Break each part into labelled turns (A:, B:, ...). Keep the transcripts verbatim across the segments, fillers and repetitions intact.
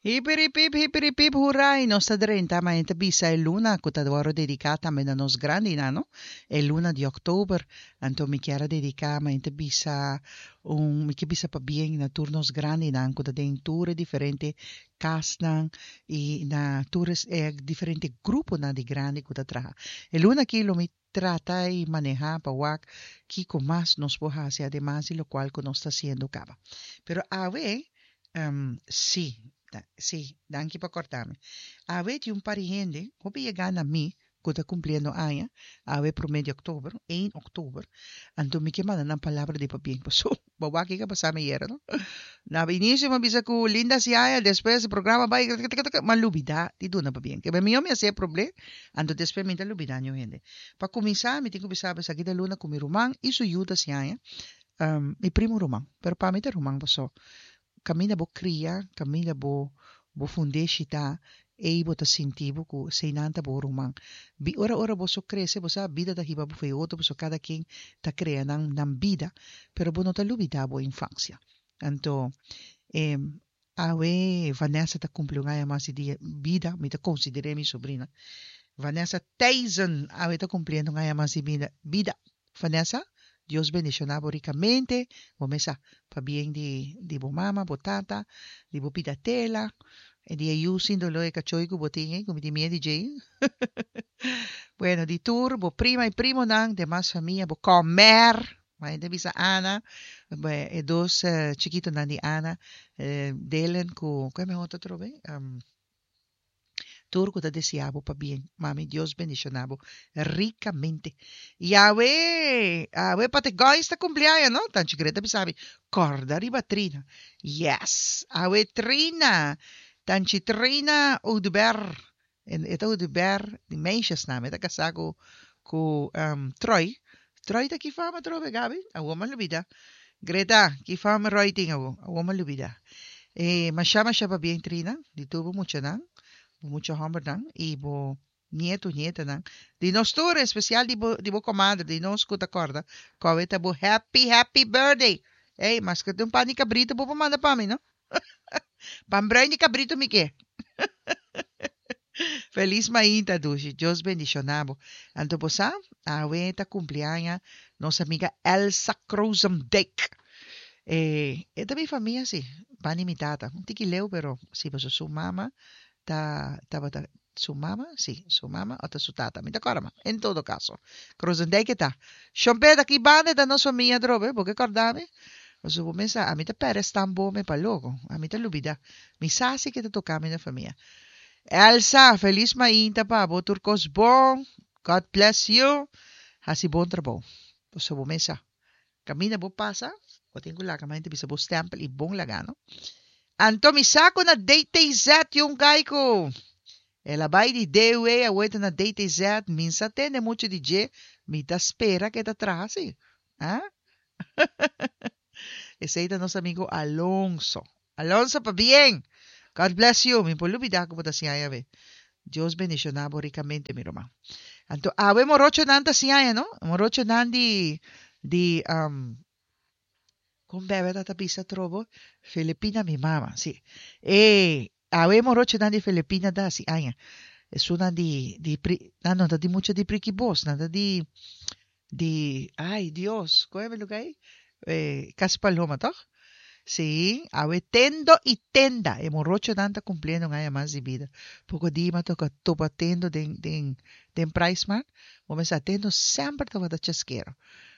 A: Hipiripip, hipiripip, hurra! I nos ta drenta mainta bisa e luna ku ta wòrdu dediká tambe na nos grandinan, no? E luna di òktober. Anto mi kier a dediká mainta bisa un, mi ke bisa pabien na tur nos grandinan ku ta den tur e diferente kasnan i na tur e diferente gruponan di grandi ku ta traha. E luna aki lo mi trata i manehá pa wak kiko mas nos por hasi ademas di lokual ku nos ta hasiendo kaba. Pero awe, um, sí, sí, danki pa kòrda mi. Awe tin un par di hende, hopi yega na mi, ku ta kumpliendo aña, awe promé di òktober, un òktober, anto mi ke manda nan palabra di pabien. Paso, bo wak kiko a pasa mi ayera, no? Na inisio mi a bisa ku Linda hasi aña, despues e programa bai, m'a lubidá di duna pabien. Ke mihó mi hasi e problema, anto despues mi ta lubidá niun hende. Pa kuminsá, mi tin ku bisa bo esaki ta luna ku mi ruman i su yu ta hasi aña, um, mi primo ruman, pero pa mi ta ruman paso. Kaminda bo kria, kaminda bo bo fundeshi ta, ei bo ta sinti bo ku eseinan ta bo ruman. Bi ora ora boso krese, bo sa bida ta hiba bo for otro, paso kada ken ta krea nan nan bida, pero bo no ta lubidá bo infansia. Anto, eh, awe Vanessa ta kumpli un aña mas di dia bida, mi ta konsider'é mi sobrina. Vanessa Thijssen awe ta kumpliendo un aña mas di bida. Bida. Vanessa, Dios bendishoná bo rikamente, bo mesa pabien di di bo mama, bo tata, di bo pida tela, e di e yu sin doló e kachoi ku bo tin ei, ku mi tin miedu di dje. Bueno, di tur bo prima i primonan, demas famia, bo kòmèr, ma hende bisa Ana, e dos chikitonan di Ana, Delen ku, ku e mehor ta atrobe? Tur ku ta deseá bo pabien, mami, Dios bendishoná bo rikamente. Yawe, awe Pategois ta kumpli aña, no? Tanchi Greta bisa mi, kòrda riba Trina. Yes! Awe Trina, Tanchi Trina Oduber, e ta Oduber di meisjesnaam, e ta kasá ku ku Troy. Troy ta ki fama atrobe, Gaby? Awor mi a lubida. Greta, ki fama Roy tin awor? Awor mi a lubida. E masha masha pabien Trina, di tur bo muchanan, bo mucha hòmbernan i bo nietu, nietanan. Di nos tur, espesial di bo di bo komadre, di nos ku ta kòrda ku awe ta bo happy happy birthday. Ey, maske ta un pan di kabritu bo por manda pa mi, no? Pan bruin di kabritu mi ke. Felis mainta dushi, Dios bendishoná bo. Anto bo sa, awe ta kumpli aña nos amiga Elsa Krozendijk. E e ta mi famia si, pan di mi tata. Un tiki leu pero si pasobra su mama ta tabata su mama si, su mama o ta su tata, mi ta kòrda ma. En todo kaso, Krozendijk e ta. Shon Pet, aki banda e ta nos famia atrobe, bo ke kòrda mi? Pasobra bo mester ami ta pèrdè stamboom pa loko, ami ta lubidá. Mi sa si ke ta toka mi na famia. Elsa, felis mainta pa bo, tur kos bon, God bless you, hasi bon trabou. Pasobra bo mes sa, kaminda bo pasa, bo tin ku laga mente bisa bo stèmpel i bon laga no. Anto mi sa ku na D T Z yung kai ku el a bai di D U E awor ta na D T Z, mi sa tende muchu di dje, mi ta spera ku e ta traha si. Ah? Esei ta nos amigo Alonso. Alonso, pabien. God bless you. Mi por lubidá ku bo ta hasi aña be. Dios bendishoná bo rikamente, mi ruman. Anto, awe morochonan ta hasi aña, no? Morochonan di, di, um, kon bebe ta bisa trobo? Filipina mi mama, si. E, awe morochonan di Filipina ta hasi aña. Esunnan di, di, pri, nan no ta di mucho di Priki Bos, nan ta di, di, ay Dios, kon e lugá ei? Eh, Cas Paloma, toch? Sí, awe Tendo i Tenda, e morochonan ta kumpliendo un aña mas di bida. Poko dia mi a toka topa Tendo den, den, den PriceSmart. Bo mester Tendo semper tabata chaskero.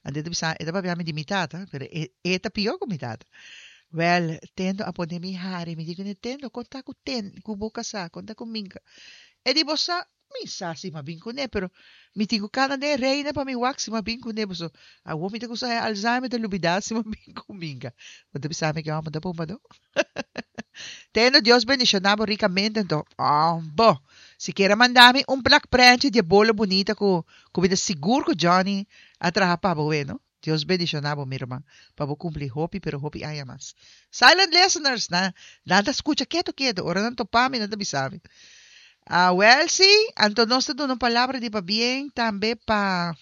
A: Anto e ta bisa, e ta papia mi di mi tata, pero e, e ta pió ku mi tata. Wel, Tendo a pone mi hari, mi di kuné, "Tendo, konta ku ten, ku bo kasá, konta ku Minka." E di, "Bo sa, mi sa si m'a bin kuné, pero mi tin ku kana den reina pa mi wak si m'a bin kuné, paso awor mi ta kusa Alzheimer ta lubidá si m'a bin ku Minka." Bo ta bisa mi ke hòmber ta pumba no? Tendo, Dios bendishoná bo rikamente anto. Oh, bo. Si kier manda mi un plak prentje di e bolo bunita ku ku mi ta sigur ku Johnny a traha pa bo, no? Dios bendishoná bo, mi ruman, pa bo kumpli hopi, pero hopi aña mas. Silent listeners, na, nan ta skucha ketu ketu, ora nan topa mi, nan ta bisa mi. Ah, wel sí, anto nos ta duna un palabra di pabien tambe pa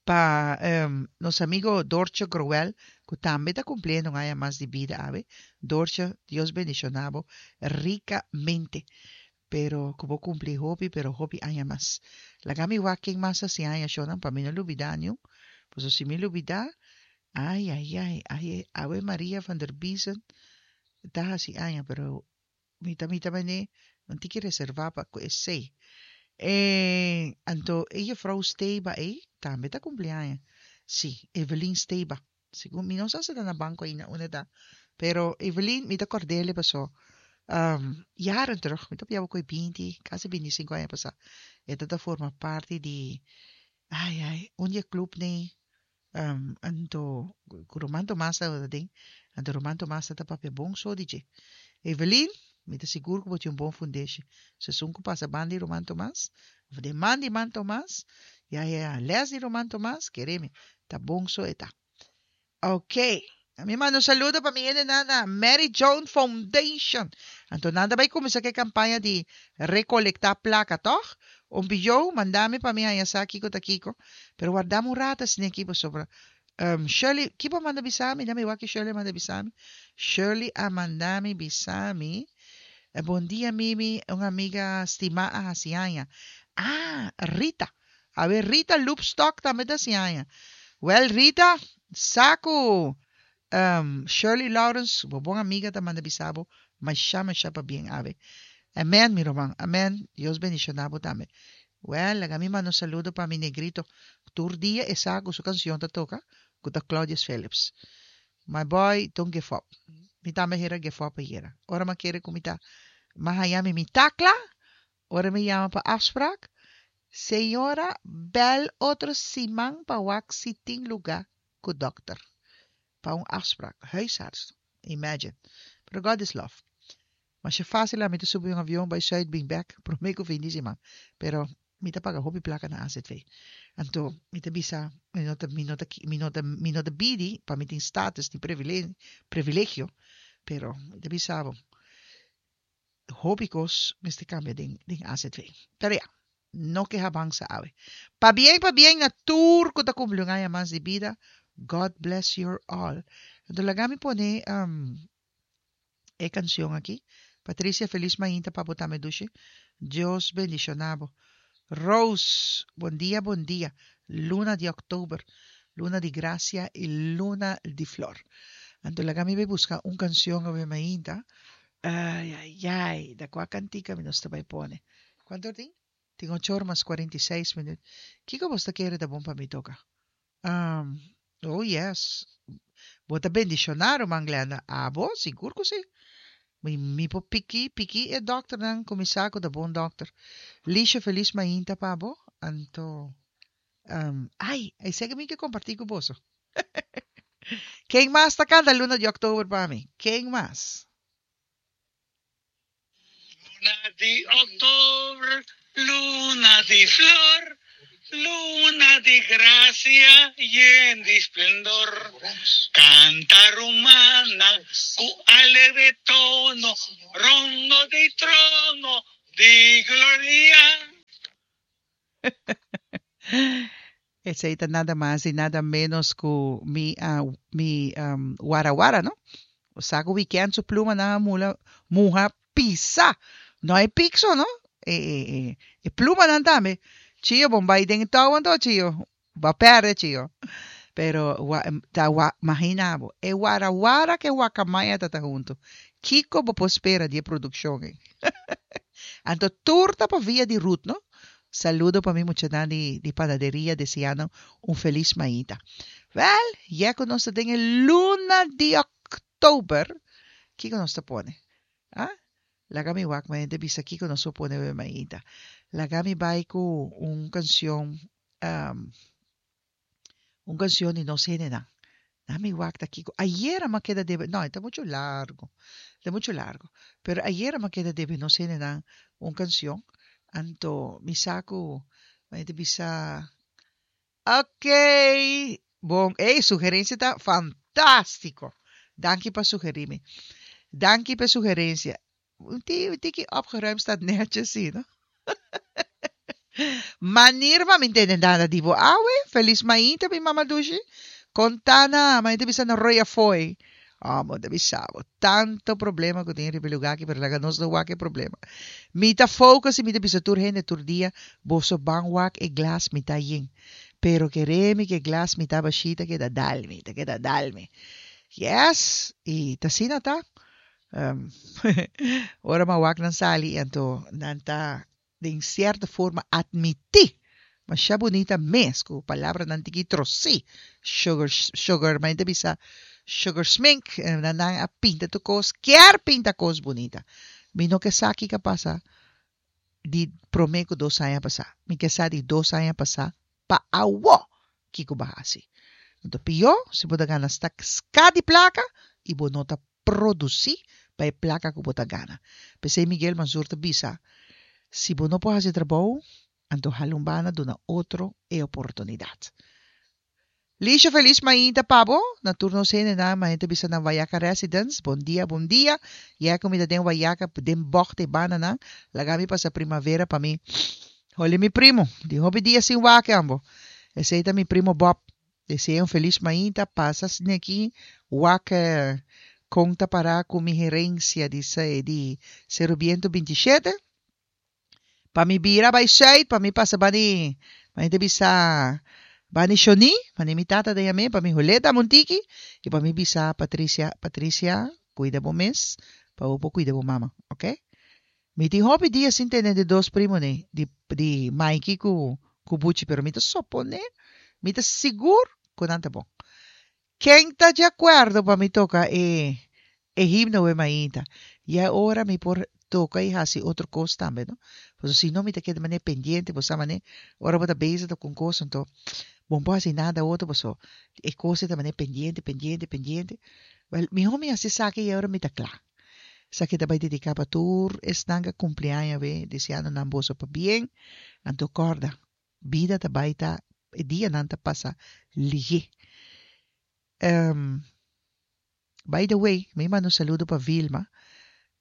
A: pa um, nos amigo Dorcho Groel, Ku tambe ta kumpliendo un aña mas di bida awe. Doortje, Dios bendishoná bo rikamente. Pero ku bo kumpli hopi, pero hopi aña mas. Laga mi wak ken mas hasi aña, shownan, pa mi no lubidá niun. Pasobra si mi lubidá, ai, ai, ai, ai, awe Maria van der Biesen ta hasi aña, pero mi ta mi ta mane un tiki reservá pa ku esei. E, anto e juffrouw Steba ei tambe ta kumpli aña. Sí, Evelien Steba. Segun mi no sa si ta na banko ainda unda e ta. Pero Evelien, mi ta kord'é paso um, jaren terug, mi ta papia bo ku e binti, kasi binti i sinku aña pasá. E ta ta forma parti di, ai ai, un di e clubnan. Um, anto, ku Roman Tomas tabata den, anto Roman Tomas ta papia bon so di dje. Evelien, mi ta sigur ku bo tin un bon fundeshi. So esun ku pasa banda di Roman Tomas, of den man di Man Tomas, ya ya les di Roman Tomas, kere mi, ta bon so e ta. Ok. Mi manda un saludo pa mi hendenan na Mary Joan Foundation. Anto nan ta bai kuminsá ku e kampaña di rekolektá plaka, tòg? Un biyo, manda mi pa mi haña sa kiko ta kiko. Pero warda mi un rato asina aki pasobra um, Shirley, kiko a manda bisa mi? Dame wak Shirley a manda bisa mi. Shirley a manda mi bisa mi. Eh, Bon dia, Mimi, un amiga stimá a hasi aña. Ah, Rita. A ber, Rita Loopstok tambe ta hasi aña. Wel, Rita, sa ku um, Shirley Lawrence, bo bon amiga, ta manda bisa bo, masha masha pabien awe. Amen, mi ruman. Amen. Dios bendishoná bo tambe. Wel, laga mi manda un saludo pa mi negrito. Tur dia e sa ku su kanshon ta toka, ku ta Claudius Phillips. My boy, don't give up. Mi tambe hera give up ayera. Ora mi a kere ku mi ta m'a haña mi mi takla, ora mi yama pa afspraak, "Señora, bel otro siman pa wak si tin lugá ku dòkter." Pa un afspraak. Huisarts. Imagine. Pero God is love. Masha fásil mi ta subi un avion bai Zuid bin bèk, promé ku fin di siman. Pero mi ta paga hopi plaka na A Z V. Anto mi ta bisa, mi no ta, mi no ta, mi no ta, mi no ta bidi pa mi tin status ni privilegio, privilegio, pero mi ta bisa bo, hopi kos mester kambia den, den A Z V. Pero ja, no keha bansa awe. Pabien, pabien na tur ku ta kumpli un aña mas di bida. God bless you all. Anto laga mi pone um, e kanshon aki. Patricia, felis mainta pa bo tambe, dushi. Dios bendishoná bo. Rose, bon dia, bon dia. Luna di òktober, luna di grasia i luna di flor. Anto laga mi bai buska un kanshon awe mainta. Ai, ai, ai, da kua kantika mi nos ta bai pone? Kuantu tin? Tin ocho or mas kuarenta i seis minüt. Kiko bo ta kere ta bon pa mi toka? Um, oh yes. Bo ta bendishoná, ruman Glenda. Abo, sigur ku si. Mi, mi por piki, piki e dòkternan kuminsá ku ta bon dòkter. Lisha, felis mainta pa bo. Anto, um, ai, esei ku mi ke kompartí ku boso. Ken mas ta kanta "Luna di Òktober" pa mi? Ken mas?
B: Luna di òktober, luna di flor, luna di grasia yen di splendor. Kanta, rumannan, ku alegre tono, rondó di trono di gloria.
A: Esei ta nada mas i nada menos ku mi, uh, mi um, warawara, no? Sa ku weekend su plumanan a mula, muha pisa. No e pixo, no? E, e, e, e plumanan tambe. Chio, bon bai den touw anto, Chio. Bo a pèrdè, Chio. Pero wa, ta wa, imaginá bo. E warawara ku wakamaya ta huntu. Kiko bo por spera di produkshon, eh? Anto tur ta pa via di Ruth, no? Saludo pa mi muchanan di, di panaderia, deseando un felis mainta. Wel, ya ku nos ta den luna di òktober, kiko nos ta pone? Ah? Laga mi wak ma bisa kiko nos ta pone awe mainta. Laga mi bai ku un kanshon, um, un kanshon di nos hendenan. Dami wak ta kiko. Ayera m'a keda debe, no, ta muchu largu. Ta muchu largu. Pero ayera m'a keda debe nos hendenan un kanshon. Anto mi sa ku, mi bisa, ok. Bon, ei, sugerensia ta fantástiko. Danki pa sugerí mi. Danki pa sugerensia. Un tiki opgeruimd staat netjes, sí, no? Manier pa mi tende nada di bo awe. Felis mainta, mi mama dushi. Contana, ma bisa na roya foi. Ah, mo bisa bo. Tanto problema ku tin riba e lugá aki, pero laga nos no wak e problema. Mi ta focus i mi ta bisa tur hende tur dia, boso ban wak e glas mitá yen. Pero kere mi ku e glas mitá bashí ta keda dal mi, ta keda dal mi. Yes, i ta asina ta. Um, ora m'a wak nan sali, anto nan ta den sierto forma admití masha bunita mes ku palabranan tiki trosí. Sugar, sugar, ma ta bisa sugar smink, nan nan a pinta tur kos, kier pinta kos bunita. Mi no ke sa kiko a pasa di promé ku dos aña pasá. Mi ke sa di dos aña pasá pa awó kiko bo a hasi. Anto pió si bo ta gana ska di plaka i bo no ta produsí pa e plaka ku bo ta gana. P'esei Miguel Mansur ta bisa, si bo no por hasi trabou, anto hala un banda duna otro e oportunidat. Lisha felis mainta pa bo, na tur nos hendenan mainta bisa na Wayaca Residence, bon dia bon dia, ya ku mi ta den Wayaca den bògt e bandanan, laga mi pasa primavera pa mi holi mi primo, di hopi dia sin wak ambo, esei ta mi primo Bob, desea un felis mainta, pasa sneki wak kon ta para ku mi herensia di di Seru Biento binti shete. Pa mi bira bai sùit, pa mi pasa bani, mane ta bisa bani Shoni, mane mi tata ta yam'é, pa mi huleta Montiki, i pa mi bisa Patricia, Patricia, kuida bo mes, pa bo por kuida bo mama, oke? Mi tin hopi dia sin tene di dos primonan, di di Maiki ku ku Buchi, pero mi ta soponé, mi ta sigur ku nan ta bon. Ken ta di akuerdo pa mi toka e e himno we mainta? Ya ora mi por toka i hasi otro kos tambe, no? Pasobra si no mi ta keda manera pendiente, bo sa manera ora bo ta bezig ta ku un kos anto bo no por hasi nada otro pasobra e kos ei ta manera pendiente, pendiente, pendiente. Wèl, mihó mi hasi esaki i ora mi ta kla. Esaki ta bai dediká pa tur esnan ku a kumpli aña awe, deseando nan boso pabien. Anto kòrda, bida ta bai ta, e dianan ta pasa lihé. Um, by the way, mi manda un saludo pa Vilma.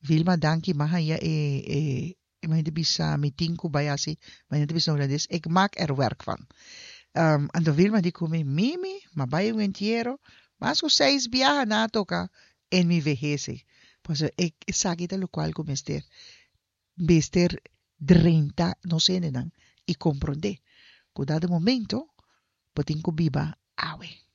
A: Vilma, danki, m'a haña e, e, e mi bisa mi tin ku bai hasi, mi ta bisa na hulandes, ik maak er werk van. Um, anto Vilma di ku mi, Mimi, m'a bai un entiero, mas ku seis biaha nan a toka en mi vejez. Pasobra e esaki ta lokual ku mester mester drenta nos hendenan i komprondé ku dado momento bo tin ku biba awe.